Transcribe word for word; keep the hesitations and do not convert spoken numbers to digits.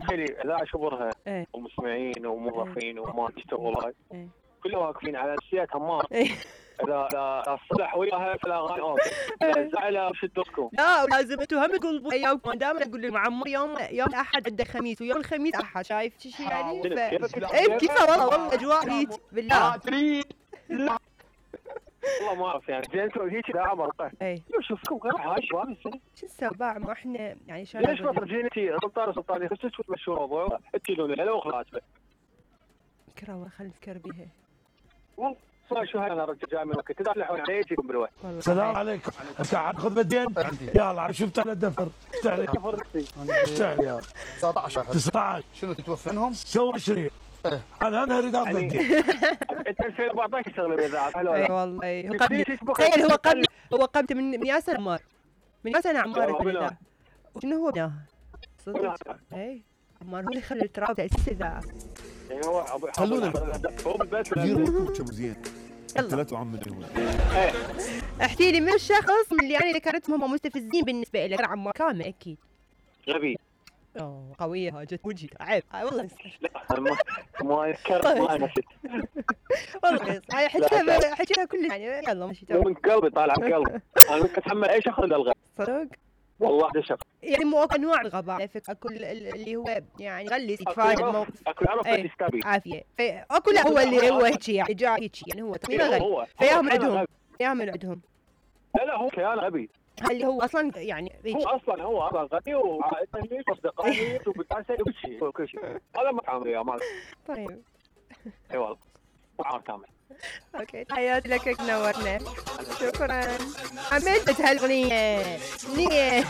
تخيلي اذا شبرها ايه ومسمعين وموظفين وما تشتغل هاي ايه كلهم واقفين على اساسيات همار. ايه اذا اذا صلح وياها في الاغاني اوكي، اذا زعلها شدتكم. لا ولازم انتوا هم تقولوا ايامكم. دائما اقول للمعمر يوم يوم احد عنده خميس ويوم الخميس احد، شايف شي يعني؟ ف... ايه كيف والله والله اجواء هيك بالله. تريد والله ما اعرف يعني زين انتوا هيك داعم مرقه. اي شوفكم غير هاي شباب السنه شو السبع ما احنا يعني شو ليش ما ترجين انتي سلطان سلطاني خشيت تمشوا الموضوع تجيلون له وخلاص. فكره والله خلينا نفكر بها والله صار شو هاي انا رجع جاي من وقت تدافعون علي يجيكم بالوقت. السلام عليكم. قاعد خذ بدين يلا شفت على الدفر اشتغل اشتغل تسعة عشر تسعة عشر شنو تتوفنهم؟ سوى عشرين انا انا اريد اخذ بدين. انت ألفين وأربعة عشر تشتغل بالاذاعه حلو اي والله. هو قبل تخيل هو قبل هو قبل من من يا سنه عمار من يا سنه عمار بالاذاعه. وشنو هو بناها صدق؟ اي عمار هو اللي خلى التراب تاسيس الاذاعه. يعني هو خلونا هو بالبيت ديروا زين يلا ثلاثة وعملوا. احكي لي من الشخص اللي انا ذكرتهم هم مستفزين بالنسبه لك؟ عمار كامل اكيد. غبي. اوه قويه هاي جت وجهي عيب والله. لا ما ما يذكر ما نسيت والله هاي حكيتها حكيتها كلها يعني. يلا ماشي مو من قلبي طالع من قلبي. انا ممكن اتحمل اي شخص الغى صدق والله ده شخص يعني مو انواع الغباء على فكره. كل اللي هو يعني يغلس يتفاهم الموقف اكو يعرف يستبي عافيه. اكو لا هو اللي هو هيك يعني جاي هيك يعني هو تقريبا غبي فياهم عندهم فياهم عندهم. لا لا هو كيان غبي. اللي هو اصلا يعني هو اصلا هو اصلا غبي وعائلته واصدقائه وبتعسى وكل شيء وكل شيء. هذا ما عامل يا مال. طيب اي والله عام كامل. اوكي تحياتي لك نورنا. شكرا. عملت هالاغنيه منين